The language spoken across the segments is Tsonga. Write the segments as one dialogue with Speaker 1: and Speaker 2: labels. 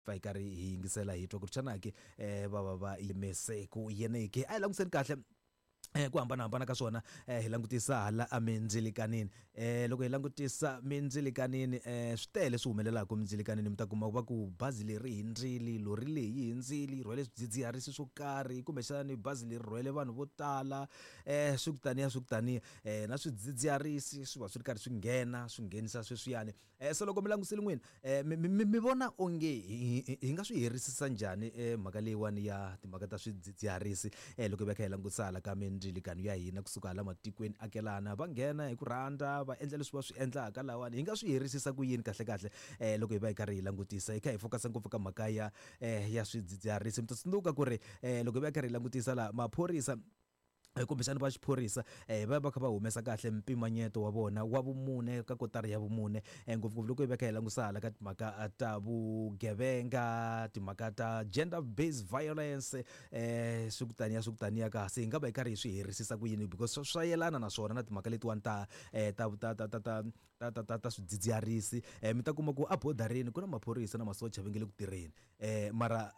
Speaker 1: Pfa hi karhi hi yingisela hi twa ku ri xana ke va va va yimise ku yini ke. A hi langutiseni kahle ku hambanahambana ka swona hi langutisa hala emindzilikanini. Loko hi langutisa mindzilikanini swi tele swi humelelaka mindzilikanini mi ta kuma va ku bazi leri hindzile, lori leyi yi hindzile yi rhwele swidzidziharisi swo karhi kumbexani bazi leri rhwele vanhu vo tala swi ku taniya swi ku taniya na swidzidziharisi swi va swi ri karhi swi nghena swi nghenisa sweswiyani. Eh, se loko mi langutisile n'wina eh, mi, mi, mi vona onge hi, hi nga swi herisisa njhani eh, mhaka leyiwani ya timhaka ta swidzidziharisi eh, loko hi va kha hi langutisa hala ka mindzilikano ya hina kusuka hala matikweni akelana va nghena hi ku rhandza va endla leswi va swi endlaka lawani hi nga swi herisisa ku yini kahle kahle eh, loko hi va hi karhi hi langutisa hi kha hi focus ngopfu ka mhaka ya eh, ya swidzidziharisi mi ta tsundzuka ku ri eh, loko hi va hi karhi hi langutisa laha maphorisa Kumbexana va xiphorisa va va kha va humesa kahle mpimanyeto wa vona wa vumune ka kotara ya vumune ngopfungopfu loko hi va kha hi langusa hala ka timhaka ta vugevenga timhaka ta gender based violence swi ku taniya swi ku taniya ka se hi nga va hi karhi hi swi herisisa ku yini because swa yelana na swona na timhaka letiwani ta ta ta ta ta ta ta ta ta ta swidzidziharisi mi ta kuma ku a bodareni ku na maphorisa na masocha va nge le ku tirheni mara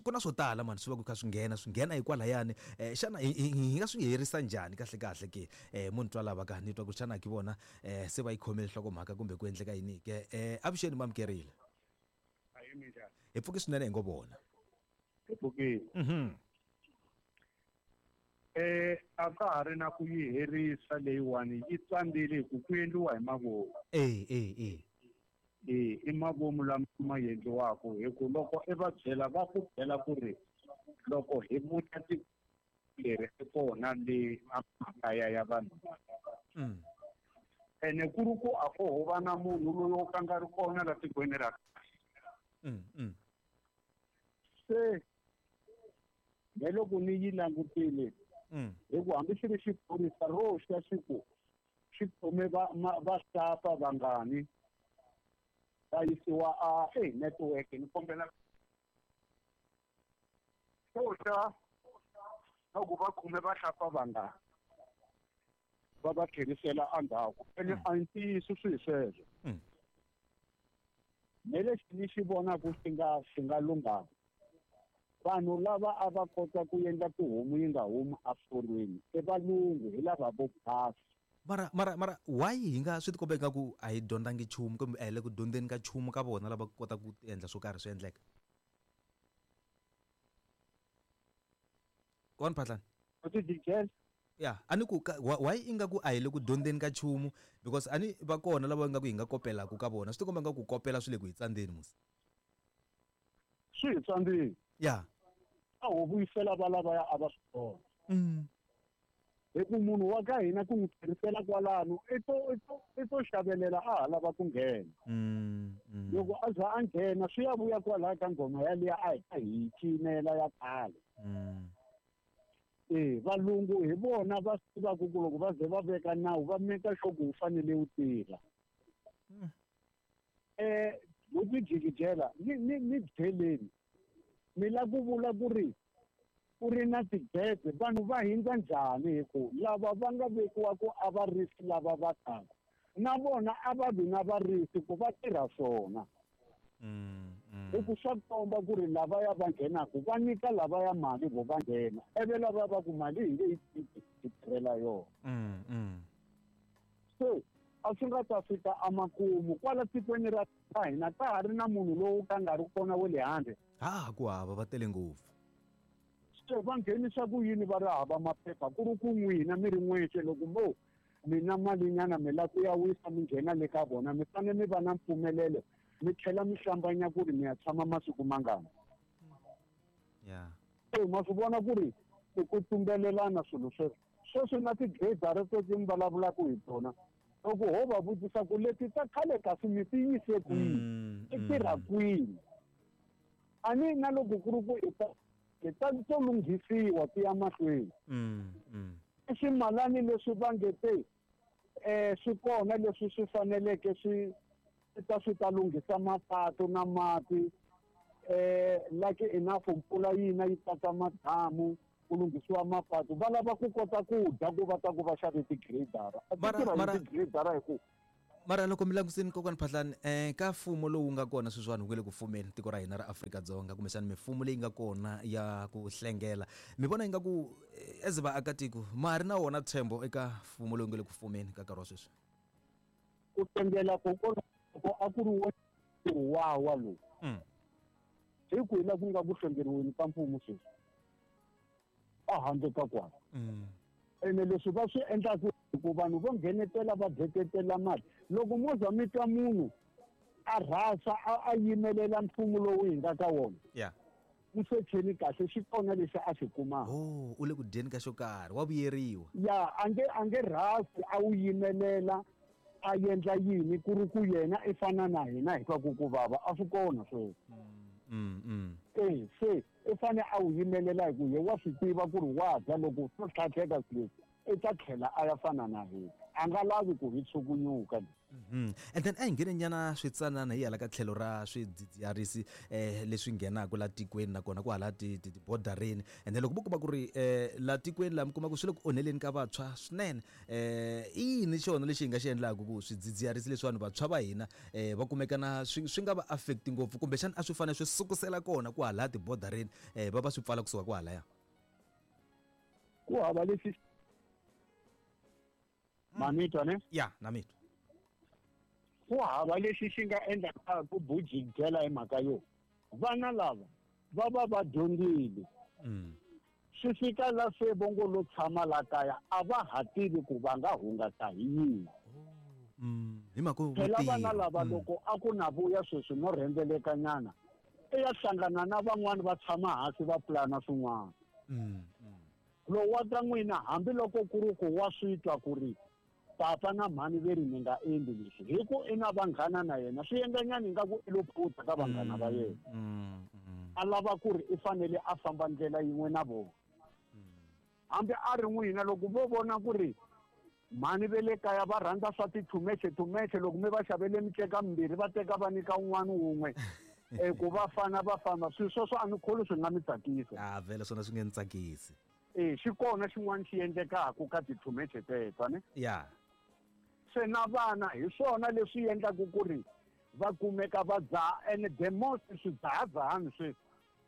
Speaker 1: ku na swo tala mani swi va ku kha swi nghena swi nghena hikwalahayani xana hi hi hi nga swi herisa njhani kahle kahle ke mo ni twa lava ka ni twa ku xana ki vona se va yi khomile nhlokomhaka kumbe ku endleka yini ke avuxeni mamukerile hi pfuke swinene hi ngo vona
Speaker 2: hi pfukile A ka ha ri na ku yi herisa leyiwani yi tsandzile hi ku ku endliwa hi mavomu.
Speaker 1: E e e.
Speaker 2: E i mavomu lama ma endliwaka hi ku loko i va byela va ku byela ku ri loko hi vuta tiko leri i kona le emakaya ya vanhu ene ku ri ku a ko ho va na munhu loyi o ka nga ri kona la tikweni ra se me loko ni yi langutile hi ku hambi xi ri xiphorisa ro xa xi ku xi khome va vahlapfa vangani va yisiwa a e network ni kombela ro xa loko va khome vahlapfa vangani va va tlherisela endzhaku ene a hi ntiyiso swi hi sweswo me lexi ni xi vonaka xi nga xi nga lunghaka vanhu lava a va kota ku endla tihomu yi nga humi eforweni i valungu hi lava vo basa
Speaker 1: mara mara mara why hi nga swi tikomba ingaku a hi dyondzangi nchumu kumbe a hi le ku dyondzeni ka nchumu ka vona lava kotaka ku endla swo karhi swi endleka Kona Phatlani
Speaker 2: u ti dijela
Speaker 1: ya a ni ku why ingaku a hi le ku dyondzeni ka nchumu because a ni va kona lava ingaku hi nga kopelaku ka vona swi tikomba ingaku ku kopela swi le ku hi tsandzeni musi
Speaker 2: swi hi tsandzile
Speaker 1: ya
Speaker 2: a ho vuyisela va lavaya a va swi vona hi ku munhu wa ka hina ku n'wi tlherisela kwalano i to i to i to xavelela a ha lava ku nghena loko a za a nghena swi ya vuya kwalaya ka nghoma yaliya a hi ta hi cinela ya khale e valungu hi vona va swi tivaka ku loko va ze va veka nawu va meka sure ku wu fanele wu tirha buti jikijela ni ni ni byeleni mi la ku vula ku ri ku ri na tigede vanhu va hindza njhani hi ku lava va nga vekiwa ku a va risi lava va taka na vona a va vi na varisi ku va tirha swona hi ku swa komba ku ri lavaya va nghenaku va nyika lavaya mali vo va nghena ivi lava va ku mali hi nge yi tiki hi tirhela yona se a swi nga ta fika emakumu kwala tikweni ra hina ka ha ri na munhu lowu ka nga ri kona wa le handle
Speaker 1: ha ku hava va tele ngopfu
Speaker 2: se va nghenisa ku yini va ri hava maphepha ku ri ku n'wina mi ri n'wexe loko mo mi na malinyana mi la ku ya wisa mi nghena le ka vona mi fanele mi va na mpfumelelo mi tlhela mi hlambanya ku ri mi ya tshama masiku mangani
Speaker 1: ya
Speaker 2: se ma swi vona ku ri i ku tumbelelana swilo sweswo sweswi na ti-grader teti mi vulavulaka hi tona loko ho va vutisa ku leti ta khale kasi mi ti yise kwihi ti tirha kwini a ni na loko ku ri ku i ta i ta to lunghisiwa ti ya mahlweni i swimalani leswi va nge te swi kona leswi swi faneleke swi ta swi ta lunghisa mapatu na mati like enough mpfula yina yi tata madamu ku lunghisiwa mapatu va lava ku kota ku dya ku va ta ku va xave ti-gradara a ti tirha hi ti-gradara hi ku
Speaker 1: Mara loko mi langusini, kokwani Phahlani, ka mfumo lowu nga kona sweswiwani, wu nge le ku fumeni tiko ra hina ra Afrika-Dzonga, kumbexana mimfumo leyi nga kona ya ku hlengela, mi vona ingaku as vaakatiko ma ha ri na wona ntshembo eka mfumo lowu nge le ku fumeni ka nkarhi wa sweswi?
Speaker 2: Ku hlengela kokoloko a ku ri wo wawa lowu. Hi kwihi la ku nga ku hlengeriweni ka mfumo sweswi a handle ka kwala? Ene leswi va swi endlaku ku vanhu vo nghenetela va dyeketela mali, loko mo za mi twa munhu a rhasa a yimelela mfumo lowu hi nga ka wona, u secheni kahle, xi kona lexi a xi kumaka.
Speaker 1: Oh, u le ku dyeni ka xo karhi, wa vuyeriwa.
Speaker 2: Ya, a nge rhasi a wu yimelela a endla yini ku ri ku yena i fana na hina hi twa ku ku vava, a swi kona sweswo. E se i fane a wu yimelela hi ku ye wa swi tiva ku ri wa dya, loko swo tlhatlheka swilo leswi i ta tlhela a ya fana na hina, a nga lavi ku hi tshukunyuka.
Speaker 1: And then a hi ngheni nyana switsanana hi hala ka tlhelo ra swidzidziharisi leswi nghenaka la tikweni, nakona ku hala tibodareni. And then loko vo kuma ku ri la tikweni laha mi kuma ku swi le ku onheleni ka vantshwa swinene, i yini xona lexi hi nga xi endlaka ku swidzidziharisi leswiwani vantshwa va hina va kumeka na swi nga va affect ngopfu, kumbexana a swi fanele swi sukusela kona ku hala tibodareni, va va swi pfala kusuka kwahalaya?
Speaker 2: Ku hava lexi manitwa ne.
Speaker 1: Ya, na mitwa.
Speaker 2: Ku hava lexi xi nga endlaka ku bujijela hi mhaka yo vana lava va va va dyondzile. Swi fika la se vongo lo tshama la kaya, a va ha tivi ku va nga hungasa hi yini.
Speaker 1: Hi mhaka yo
Speaker 2: phela vana
Speaker 1: mitirho.
Speaker 2: Lava loko a ku na vuya sweswi no rhendzelekanyana, i ya hlangana na van'wani, va tshama hansi va pulana swin'wana. Lowu wa ka n'wina, hambiloko ku ri ku wa swi twa ku ri papa na mhani ve ri mi nga endli leswi, hi ku i na vanghana na yena, swi endlanyana ingaku i lo phuta ka vanghana va yena. A lava ku ri i fanele a famba ndlela yin'we na vona. Hambi a ri n'wina, loko vo vona ku ri mhani ve le kaya va rhandza swa tithumexe thumexe, loko mi va xavele miceka mimbirhi, va teka va nyika un'wana wun'we ku va fana va famba, swilo sweswo a ni kholi swi nga mi tsakisa.
Speaker 1: A vhele swona swi nge ni tsakisi.
Speaker 2: E xi kona xin'wana xi endlekaka ka tithumexe teto ne. Se na vana hi swona leswi endlaku ku ri va kumeka va dzaha, and the most swidzahadzahani sweswi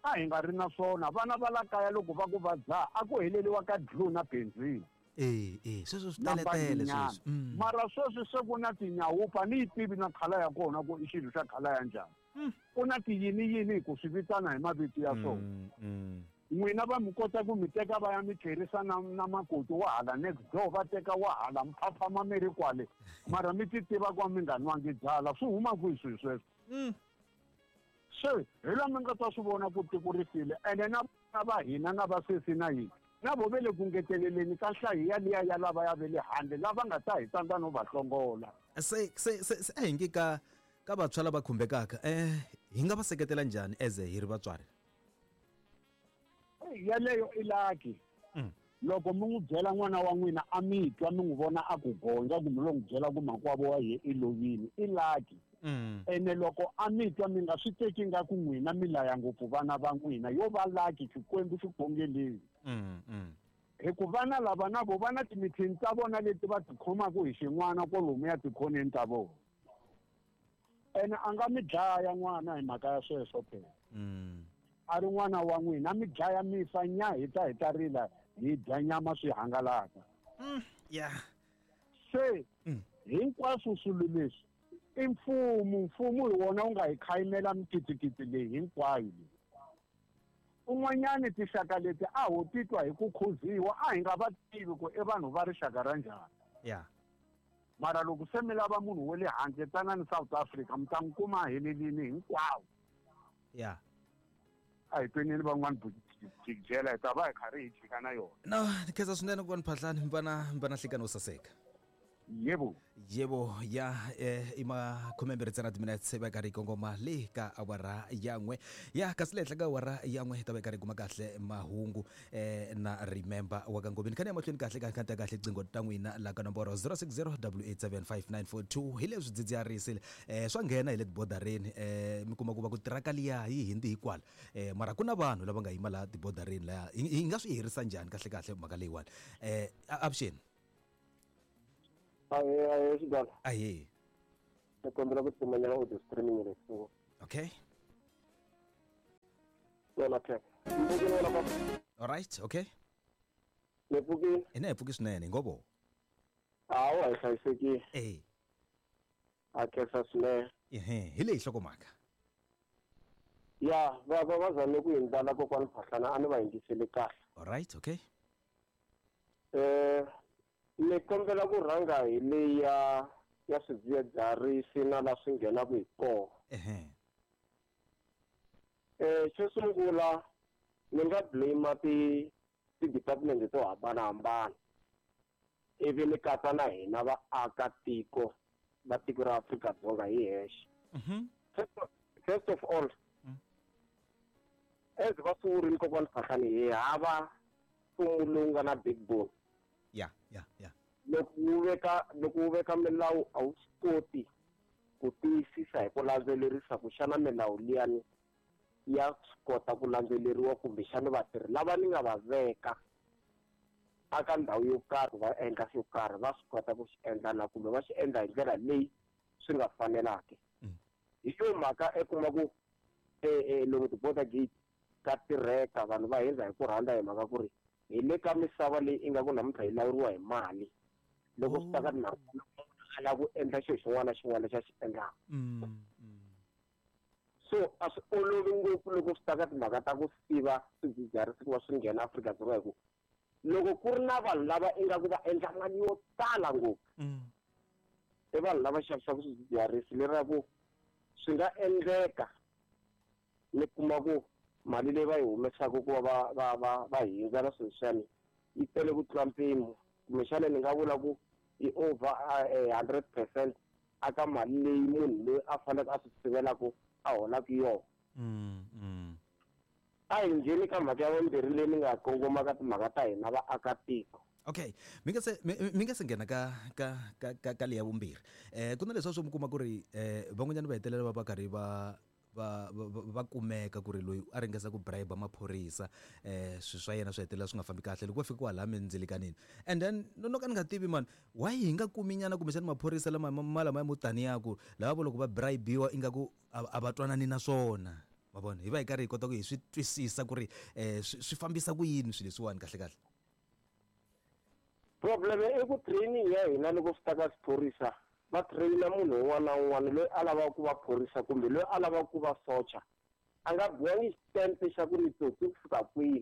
Speaker 2: a hi nga ri na swona. Vana va la kaya loko va ku va dzaha, a ku heleliwa ka glue na benzini.
Speaker 1: E sweswo swi
Speaker 2: na
Speaker 1: teletele
Speaker 2: mbanginyana.
Speaker 1: sweswi.
Speaker 2: Mara sweswi se ku na tinyawupa, ni yi tivi na colour ya kona ku i xilo xa colour ya njhani. Ku na tiyini yini hi ku swi vitana hi mavito ya swona. N'wina va mi kota ku mi teka va ya mi tlherisa na makoti wa hala next door, va teka wa hala mphaphama mi ri kwale, mara mi ti tiva ku mi nga nwangi byala, swi huma kwihi swilo sweswo? Se hi la mi nga ta swi vona ku tiko ri file, ene na vana va hina na vasesi na yini na vo ve le ku ngeteleleni ka nhlayo yaliya ya lava ya ve le handle lava nga ta hi tsandza no va hlongola.
Speaker 1: Se a hi nge ka vantshwa lava khumbekaka, hi nga va seketela njhani as hi ri vatswari?
Speaker 2: Yaleyo i lucky. Loko mi n'wi byela n'wana wa n'wina a mi twa, mi n'wi vona a ku gondza ku mi lo n'wi byela ku makwavo wa ye i lovile, i lucky. Ene loko a mi twa, mi nga swi teki nga ku n'wina mi laya ngopfu vana va n'wina, yo va lucky, Xikwembu xi khongeleni. Hi ku vana lava na vo va na timithini ta vona leti va ti khomaka hi xin'wana kwalomuya tikhoneni ta vona, ene a nga mi dlaya n'wana hi mhaka ya sweswo phela. A ri n'wana wa n'wina, a mi dlaya, mi fa nya, hi ta rila, hi dya nyama, swi hangalaka. Se hinkwaswo swilo leswi i mfumo, mfumo hi wona wu nga hi khayimela mikitikiti leyi hinkwayo leyi. Un'wanyani tinxaka leti a ho titwa hi ku khuziwa, a hi nga va tivi ku i vanhu va rixaka ra njhani. Mara loko se mi lava munhu wa le handle, tsanani South Africa, mi ta n'wi kuma a helelini hinkwawo. A hi tweneni van'wani jikijela, hi ta va hi karhi hi jika na yona.
Speaker 1: No, ni khensa swinene ku va ni Phahlani, mi va na nhlikani wo saseka.
Speaker 2: Yebo.
Speaker 1: Yebo, ya, i 20 ntsena timinetse va karhi yi kongoma le ka awara ya 1 ya, kasi le henhla ka awara ya 1 hi ta va hi karhi hi kuma kahle mahungu na Remember wa ka Ngobeni. Khani ya mahlweni kahle ka khanta kahle qingho ta n'wina la ka nomboro 060 875 hi leswi dzidziharisi swa nghena hi le tibodareni, mi kuma ku va ku tiraka liya yi hindi hikwala, mara ku na vanhu lava nga yima laha tibodareni laya, hi nga swi herisa njhani kahle kahle mhaka leyiwani? Avuxeni.
Speaker 3: Ahee, ahee, xigala.
Speaker 1: Ahee.
Speaker 3: Ni kombela ku timanyana audio streaming leyi so.
Speaker 1: Okay.
Speaker 3: Yona phela. Ni wena papa.
Speaker 1: All right, okay.
Speaker 3: Ni pfukile.
Speaker 1: Ina hi pfuki swinene hi ngo
Speaker 3: Hawa hi hlayisekile.
Speaker 1: Eh.
Speaker 3: A khensa swinene.
Speaker 1: Ehe, hi leyi hlokomhaka.
Speaker 3: Ya, va va va zame ku hindlala kokwani Phahlana a ni va yingiseli kahle.
Speaker 1: All right, okay.
Speaker 3: Ni kombela ku rhanga hi leyi ya ya swidzidziharisi na la swi nghenaka hi kona.
Speaker 1: Ehe.
Speaker 3: Xo sungula ni nga blame ti ti-department to hambanahambana ivi ni katsa na hina vaakatiko va tiko ra Afrika-Dzonga hi hexe. First of all, as va swi vurile kokwani Phahlani hi hava mfumo lowu nga na backbone.
Speaker 1: Ya, ya, ya.
Speaker 3: Loko wu veka milawu a wu swi koti ku tiyisisa hi ku landzelerisa ku xana milawu liyani ya swi kota ku landzeleriwa kumbexana vatirhi lava ni nga va veka aka ndhawu yo karhi va endla xo karhi va swi kota ku xi endla na kumbe va xi endla hi ndlela leyi swi nga fanelaki. Hi yo mhaka i kuma ku lomu ti-border gate ka tirheka vanhu va hundza hi ku rhandza hi mhaka ku ri hi le ka misava leyi ingaku namuntlha yi lawuriwa hi mali loko swi ta ka timhaka a lava ku endla xilo xin'wana na xin'wana lexi a xi endlaka. So a swi olovi ngopfu loko swi ta ka timhaka ta ku siva swidzidziharisi ku va swi nghena Afrika-Dzonga hi ku loko ku ri na vanhu lava ingaku va endla mali yo tala ngopfu i vanhu lava xavisaka swidzidziharisi leraku swi nga endleka ni kuma ku mali leyi va yi humesaka ku va va va va va hindza na swilo swiyani yi tele ku tlula mpimo kumbexana ni nga vula ku yi over 100% aka mali leyi munhu loyi a faneleke a swi sivelaku a holaka yona. A hi ngheni ka mhaka ya vumbirhi leyi ni nga kongoma ka timhaka ta hina vaakatiko.
Speaker 1: Okay, mi nga se nghena ka ka ka ka ka leya vumbirhi. Ku na leswi swo mi kuma ku ri van'wanyana va hetelela va va karhi va va va kumeka ku ri loyi a ringesa ku bribe maphorisa swilo swa yena swi hetelela swi nga fambi kahle loko va fika kwalaya mindzilikanini. And then no ka ni nga tivi man, why hi nga kumi nyana kumbexana maphorisa lama ma lamaya mo taniya ku lava vo loko va bribiwa ingaku a va twanani na swona. Ma vona, hi va hi karhi hi kota ku hi swi twisisa ku ri swi fambisa ku yini swilo leswiwani kahle kahle.
Speaker 3: Problem i ku training ya hina loko swi ta ka xiphorisa va traina munhu un'wana na un'wana loyi a lavaka ku va phorisa kumbe loyi a lavaka ku va socha a nga biwangi xitempe xa ku ni tsotsi ku fika kwihi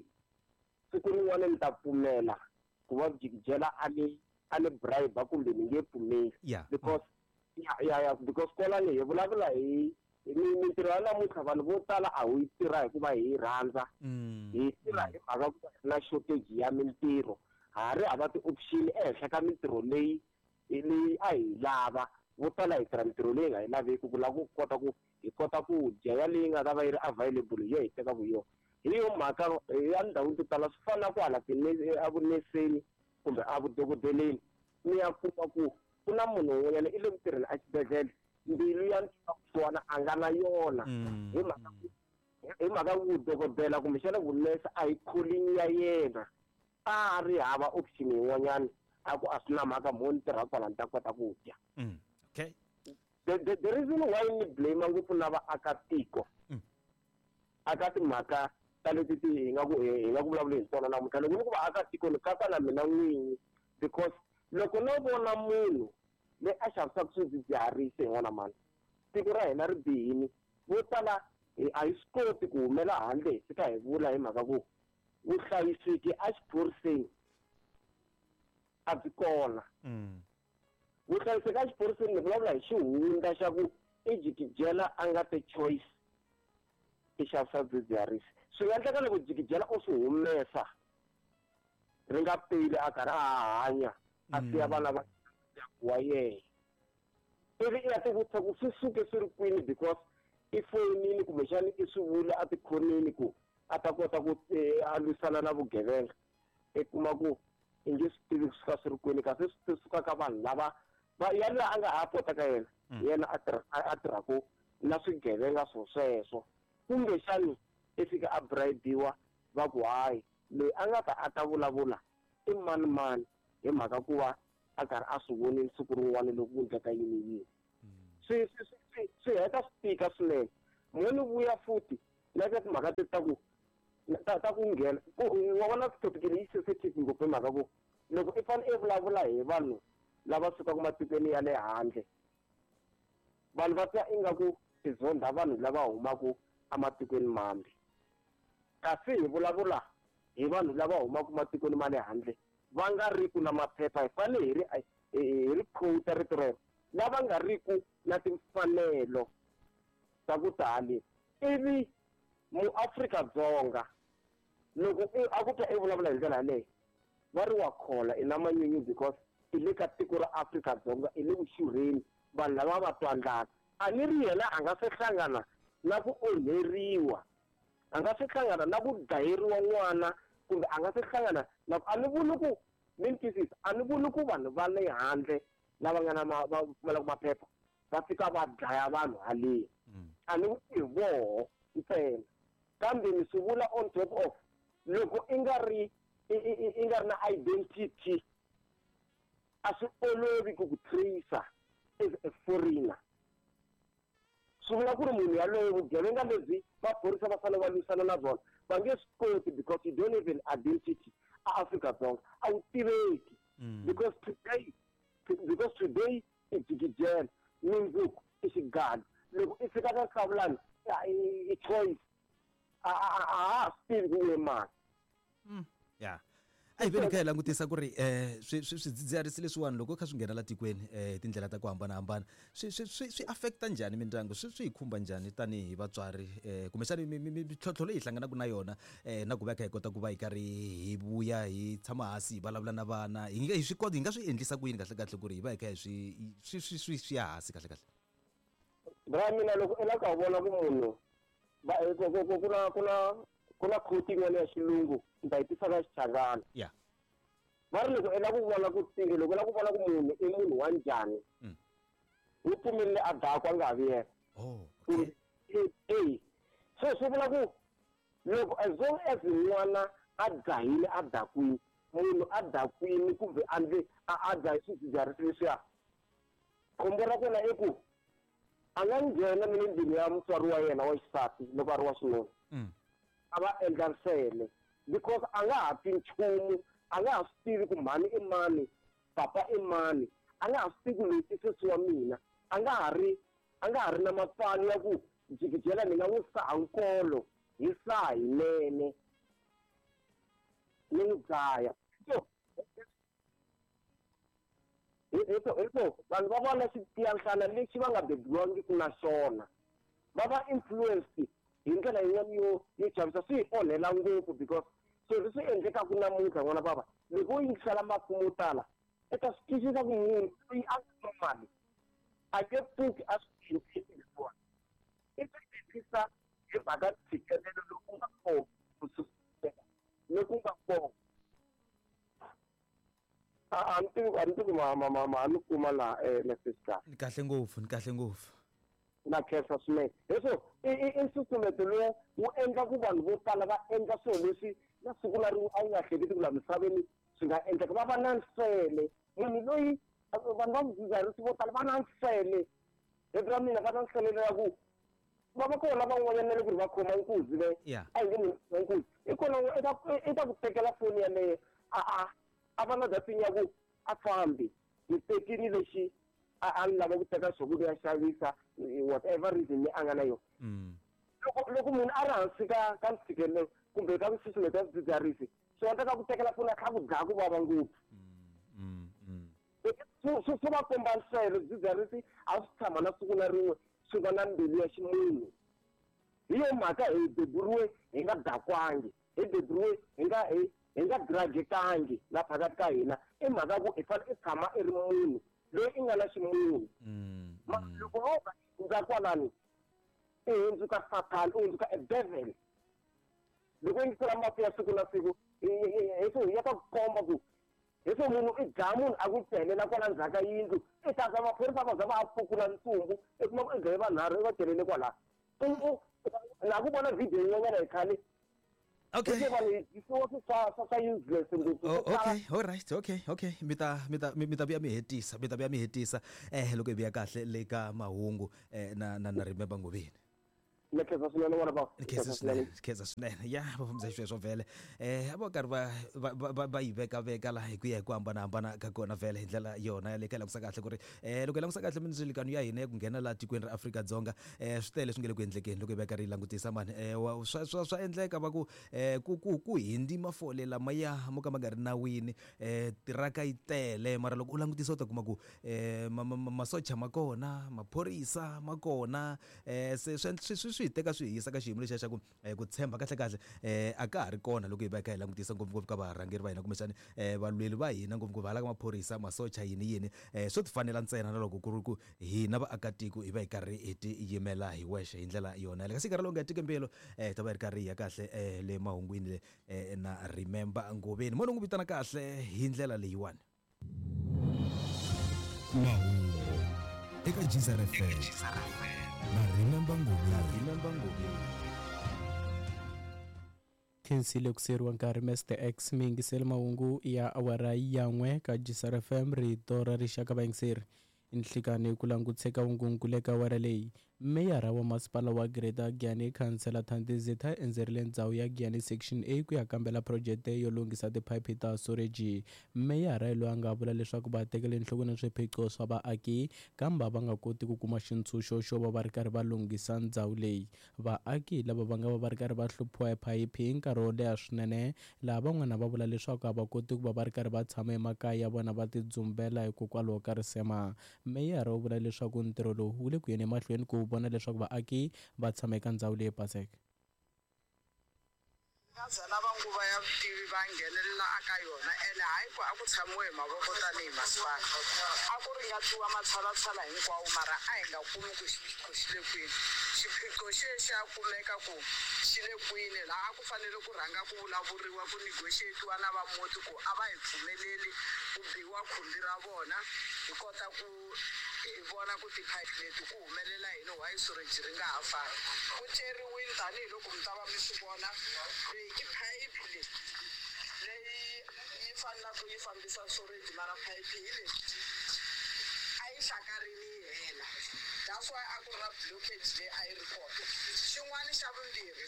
Speaker 3: siku rin'wana ni ta pfumela ku va jikijela a ni bribe kumbe ni nge pfumeli. Because ya because kwalani hi vulavula hi mintirho ya namuntlha vanhu vo tala a wu yi tirha hikuva hi yi rhandza. Hi tirha hi mhaka ku na shortage ya mintirho ha ri hava ti-option ehenhla ka mintirho leyi a hi lava vo tala hi tirha mintirho leyi nga yi laveki ku lava ku kota ku hi kota ku dya ya leyi nga ta va yi ri available hi yo hi tekaka hi yona. Hi yo mhaka ya ndhawini to tala swi fana ku hala evuneseni kumbe evudokodeleni mi ya kuma ku ku na munhu un'wanyana i le ku tirheni exibedhlele mbilu ya ntwana a nga na yona hi mhaka ku dokodela kumbexana vunese a hi calling ya yena a ri hava option yin'wanyana a ku a swi na mhaka mo ni tirha kwala ni ta kota ku dya.
Speaker 1: Okay.
Speaker 3: The reason why ni blame ngopfu na vaakatiko aka timhaka ta leti ti hi nga ku vulavuli hi tona namuntlha loko ni ku vaakatiko ni katsa na mina n'winyi because loko no vona munhu loyi a xavisaka swidzidziharisi hi n'wana mani tiko ra hina ri bihini vo tala a hi swi koti ku humela handle hi fika hi vula hi mhaka ku vuhlayiseki exiphoriseni a byi kona. Vuhlayiseki exiphoriseni ni vulavula hi xihundla xa ku i jikijela a nga te choice i xavisa swidzidziharisi. Swi nga endleka loko jikijela u swi humesa ri nga peli a karhi a hanya a siya vana va wa yena ivi i ya tivutisa ku swi suke swi ri kwini because i foyinini kumbexana i swi vula a tikhoneni ku a ta kota ku a lwisana na vugevenga i kuma ku i nge swi tivi ku suka swi ri kwini kasi swi suka ka vanhu lava va ya laha a nga ha pota ka yena yena a tirhaku na swigevenga swo sweswo kumbexani i fika a bribiwa va ku hayi loyi a nga ta a ta vulavula i mani mani hi mhaka ku va a karhi a swi vonile siku rin'wana loko ku endleka yini yini. Swi heta swi tika swinene. Mo ni vuya futhi na ka timhaka teti ta ku ta ku nghena wa vona topic leyi sensitive ngopfu hi mhaka ku loko i fanele i vulavula hi vanhu lava sukaka matikweni ya le handle, vanhu va twa ingaku i zondha vanhu lava humaka ematikweni mambe, kasi hi vulavula hi vanhu lava humaka matikweni ma le handle va nga ri ku na maphepha. Hi fanele hi ri quote rito rero, lava nga ri ku na timfanelo ta ku tali. Ivi muAfrika-Dzonga loko a ku twa i vulavula hi ndlela yaleyo, va ri wa khola, i na manyunyu, because i le ka tiko ra Afrika-Dzonga, i le ku xurheni, vanhu lava va twa ndlala. A ni ri yena a nga se hlangana na ku onheriwa, a nga se hlangana na ku dlayeriwa n'wana, kumbe a nga se hlangana na a ni vuli ku mi ni twisisa, a ni vuli ku vanhu va le handle lava nga na va pfumalaka maphepha va fika va dlaya vanhu haleni. A ni vuli hi voho ntsena, kambe ni swi vula on top of loko i nga ri na identity, a swi olovi ku ku tracer as a foreigner. Swi vula ku ri munhu yaloye, vugevenga lebyi maphorisa va fanele va lwisana na byona, va nge swi koti because you don't have an identity. A Afrika-Dzonga a wu tiveki because today i jikijela, mundzuku i xigalo, loko i fika ka Hlawulani i choice, a ha swi tivi ku u ye mani.
Speaker 1: Ya, a hi veni kha hi langutisa ku ri swidzidziharisi leswiwani loko kha swi nghena la tikweni hi tindlela ta ku hambanahambana, swi affecta njhani mindyangu, swi hi khumba njhani tanihi vatswari, kumbexani mintlhontlho leyi hi hlanganaka na yona, na ku va hi kha hi kota ku va hi karhi hi vuya hi tshama hansi hi vulavula na vana, hi nga hi swi kota, hi nga swi endlisa ku yini kahle kahle ku ri hi va hi kha hi swi ya hansi kahle kahle?
Speaker 3: Bra, mina loko i lava ku vona ku munhu ku na quote yin'wana ya xilungu, ni ta yi tisa ka Xichangana. Va ri loko i lava ku vona ku loko i lava ku vona ku munhu i munhu wa njhani, wu pfumelele a dakwa, a nga ha vi yena.
Speaker 1: Oh, okay.
Speaker 3: E so swi vula ku loko as long as n'wana a dzahile, a dakwini, munhu a dakwini kumbe a ndle a dzahi swidzidziharisi leswiya, khombo ra kona i ku a nga nghena ni le ndlwini ya mutswari wa yena wa xisati loko a ri wa xinuna, a va endla nsele because a nga ha twi nchumu, a nga ha swi tivi ku mhani i mani, papa i mani, a nga ha swi tivi ku loyi i sesi wa mina, a nga ha ri na mapfalo ya ku jikijela ni nga n'wi saha nkolo hi saha hinene ni n'wi dlaya. So hi so vanhu va vona xitiyanhlana lexi va nga bebiwangiki na xona, va va influenced hi ndlela yin'wana yo chavisa. Swi hi onhela ngopfu because swilo leswi endlekaka namuntlha, n'wana bava, loko wo yingisela mafumo yo tala, i ta swi twisisa ku munhu loyi a nga normal a nge pfuki a swi endlisi leswiwani, i swi endlisa hi mhaka ntshikelelo lowu nga kona kusukusela loku nga kona. A ni tivi ma ni kuma laha message kahle?
Speaker 1: Ni kahle ngopfu, ni kahle ngopfu.
Speaker 3: Na khensa swinene. Leswo i nsusumeto lowu wu endla ku vanhu vo tala va endla swilo leswi na siku na rin'we a wu nga hleketi ku laha misaveni swi nga endleka. Va va na nsele munhu loyi, vanhu va swidzidziharisi vo tala va na nsele rito ra mina, va na nsele ya ku va va kona van'wanyana na le ku ri va khoma nkuzi le. A hi nge munhu khoma nkuzi, i kona i ta ku tekela foni yaleyo, a va na dating ya ku a fambi ni tekini lexi a ni lava ku teka xo ku ya xavisa, whatever reason leyi a nga na yona. Loko munhu a ri hansi ka ntshikelelo kumbe ka nsusumeto ya swidzidziharisi, swi endleka ku tekela foni a kha ku dlaya ku vava ngopfu. Swi va komba nsele. Swidzidziharisi a swi tshama na siku na rin'we swi va na mbilu ya ximunhu. Hi yo mhaka hi beburiwe hi nga dakwangi, hi beburiwe hi nga dragekangi la phakati ka hina, i mhaka ku i fanele i tshama i ri munhu loyi i nga na ximunhu. Loko wo ka hundza kwalani, i hundzuka Sathana, i hundzuka a devil. Loko yingisela mafu ya siku na siku hi so ya ta ku komba ku hi so munhu i dlaya munhu, a ku celela kwala ndzhaku ka yindlu, i ta za maphorisa va za va pfukula ntsumbu, i kuma ku i dlaye vanharhu, i va celele kwalaha. Na ku vona video yin'wanyana hi khale.
Speaker 1: Okay.
Speaker 3: Hi vanhu hi dyisiwa swi swa swa swa useless ngopfu
Speaker 1: Oh,
Speaker 3: swo tala.
Speaker 1: okay all right okay okay mi ta mi ta mi mi ta vuya mi hetisa mi ta vuya mi hetisa loko hi vuya kahle le ka mahungu na na na Remember Ngoveni.
Speaker 3: Ni khensa swinene n'wana bava.
Speaker 1: Ni khensa swinene ni khensa swinene ya va fambisa xisweswo vhele a va karhi va va va va va yi veka veka laha hi ku ya hi ku hambanahambana ka kona vhele hi ndlela yona yaleyo ka hi langutisa kahle ku ri loko hi langutisa kahle mindzilikano ya hina ya ku nghena laha tikweni ra Afrika-Dzonga swi tele leswi nga le ku endlekeni loko hi va karhi hi langutisa mani wa swa swa swa endleka va ku ku ku ku hindi mafole lamaya mo ka ma nga ri nawini tiraka yi tele mara loko u langutisa u ta kuma ku masocha ma kona maphorisa ma kona se swi swi swi swi hi teka swi hi yisa ka xiyimo lexiya xa ku ku tshemba kahlekahle a ka ha ri kona loko hi va hi kha hi langutisa ngopfungopfu ka varhangeri va hina kumbexani valweri va hina ngopfungopfu hala ka maphorisa masocha yini yini swo ti fanela ntsena na loko ku ri ku hina vaakatiko hi va hi karhi hi ti yimela hi wexe hi ndlela yona yaleyo kasi nkarhi lowu nga hetiki mbilu hi ta va hi ri karhi hi ya kahle le mahungwini le na Remember Ngoveni mo ni n'wi vitana kahle hi ndlela leyiwani.
Speaker 4: Mahungu eka Geyser FM na Remember Ngoveni.
Speaker 5: Khensile ku siyeriwa nkarhi Mr X mi yingiseli mahungu ya awara ya n'we ka Geyser FM rito ra rixaka vayingiseri nhlikani ku langutise ka vungunkulu eka awara leyi meyara wa masipala wa Greater Giyani Khansela Thandi Zitha endzerile ndzhawu ya Giyani Section A ku ya kambela phurojete yo lunghisa tiphayiphi ta soreji. Meyara loyi a nga vula leswaku va tekele enhlokweni swiphiqo swa vaaki kambe a va nga koti ku kuma xintshunxo xo va va ri karhi va lunghisa ndzhawu leyi. Vaaki lava va nga va va ri karhi va hluphiwa hi phayiphi nkarhi wo leha swinene laha van'wana va vula leswaku a va koti ku va va ri karhi va tshama emakaya ya vona va tidzumbela hikokwalaho ka risema. Meyara u vula leswaku ntirho lowu wu le ku yeni emahlweni ku vona leswaku vaaki va tshama eka ndzhawu leyi baseke.
Speaker 6: Va za lava nguva ya vutivi va nghenelela aka yona ene hayi ku a ku tshamiwe hi mavoko tanihi masipala. A ku ringatiwa matshalatshala hinkwawo mara a hi nga kumi ku xiphiqo xi le kwini. Xiphiqo xi ye xa kumeka ku xi le kwini laha a ku fanele ku rhanga ku vulavuriwa ku negotiate-iwa na va muti ku a va hi pfumeleli ku biwa khumbi ra vona hi kota ku hi vona ku tiphayiphi leti ku humelela yini why sewage ri nga ha fambi. Ku ceriwile tanihiloko mi ta va mi swi vona leyi i phayiphi leyi leyi yi fanelaka yi fambisa sewage mara phayiphi hi leyi a yi hlakarile yi hela that's why a ku ri na blockage leyi a yi ri kona. Xin'wana xa vumbirhi i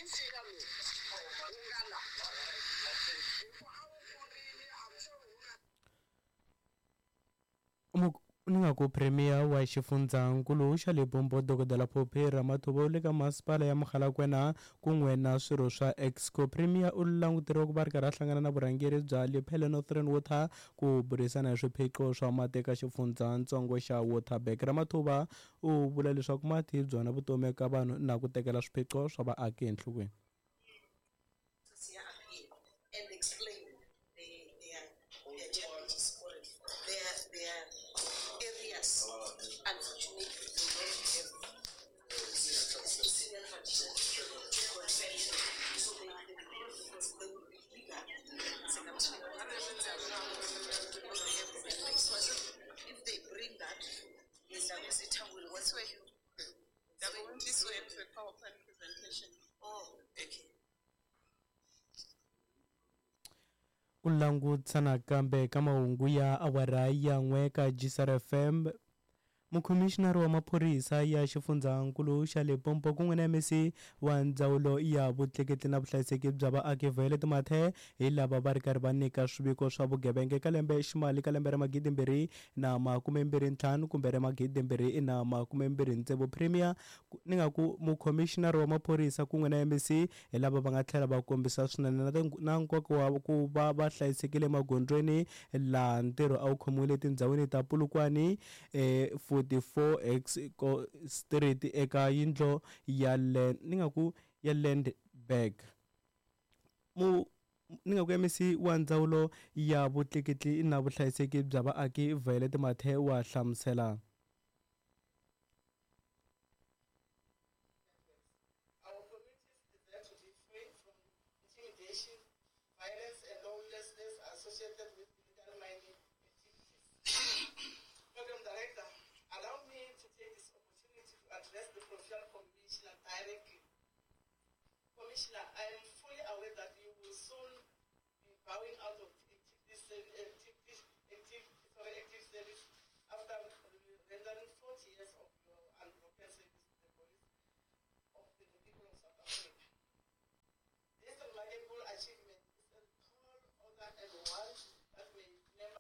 Speaker 6: nsinya lowu wu nga la hi ku a wu kurile I'm sure wu nga
Speaker 5: Ni nga ku Premier wa xifundzankulu xa Limpopo Dokodela Phophi Ramathuba u le ka masipala ya Mogalakwena kun'we na swirho swa Exco. Premier u languteriwa ku va ri karhi a hlangana na vurhangeri bya Lepelle Northern Water ku burisana hi swiphiqo swa mati eka xifundzatsongo xa Waterberg. Ramathuba u vula leswaku mati hi byona vutomi eka vanhu na ku tekela swiphiqo swa vaaki enhlokweni.
Speaker 6: And explain their challenges or their areas. Unfortunately, they don't have senior tradition to confess. So because they will be legal. If they bring that, Mr. will
Speaker 7: This way. They're going this way for a PowerPoint presentation.
Speaker 6: Oh, okay.
Speaker 5: Ku langutisa nakambe ka mahungu ya awara ya n'we ka Geyser FM Mukhomixinari wa maphorisa ya xifundzankulu xa Limpopo kun'we na MEC wa ndzawulo ya vutleketli na vuhlayiseki bya vaaki Violet Mathe hi lava va ri karhi va nyika swiviko swa vugevenga eka lembe ximali ka lembe ra 2025 kumbe ra 2026. Premier ni nga ku mukhomixinari wa maphorisa kun'we na MEC hi lava va nga tlhela va kombisa swinene na nkoka wa ku va va hlayisekile emagondzweni laha ntirho a wu khomiwile etindhawini ta Polokwane 44 X Street eka yindlo ya ni nga ku ya Landbank. Ni nga ku MEC wa ndzawulo ya vutleketli na vuhlayiseki bya vaaki Violet Mathe wa hlamusela.
Speaker 7: Our communities deserve to be free from intimidation, violence, and lawlessness associated with illegal mining activities. Program Director, allow me to take this opportunity to address the Provincial Commissioner directly. Commissioner, I am fully aware soon be bowing out of active, active, active, sorry, active service after rendering 40 years of your unbroken service to the police of the people of South Africa. This remarkable achievement is a tall order and one that may never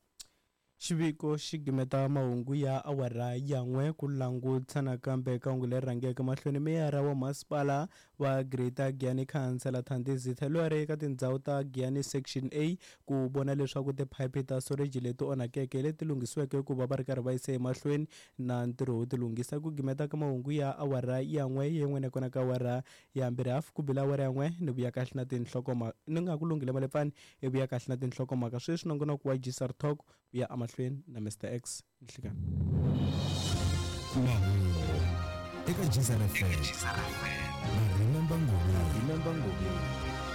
Speaker 5: Xiviko xi gimeta mahungu ya awara ya n'we ku langutisa nakambe eka hungu leri rhangeke mahlweni. Meyara wa masipala wa Greater Giyani Khansela Thandi Zitha loyi a ri eka tindhawu ta Giyani Section A ku vona leswaku tiphayiphi ta soreji leti onhakeke leti lunghisiweke ku va va ri karhi va yise emahlweni na ntirho wo ti lunghisa. Ku gimeta ka mahungu ya awara ya n'we yin'we nakona ka awara ya mbirhi hafu ku bile awara ya n'we ni vuya kahle na tinhlokomhaka ni nga ku lunghile malepfani i vuya kahle na tinhlokomhaka sweswi nongonoko wa Gsr Talk ku ya emahlweni na Mr X nhlikani.
Speaker 4: Mahungu eka Gzar FM na Remember Ngobeni. Remember Ngobeni.